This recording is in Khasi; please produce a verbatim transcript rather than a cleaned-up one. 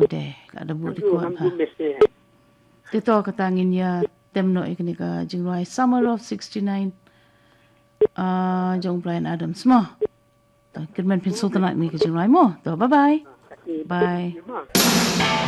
Ngamdu de, ka da bud record ha. Te to kata ngin ïa tem noh ïa kane ka jingrwai Summer of sixty-nine. Ah, jong Bryan Adams mo. To, kyrmen phin sngewtynnat ïa kane ka jingrwai mo. To, bye bye. Bye.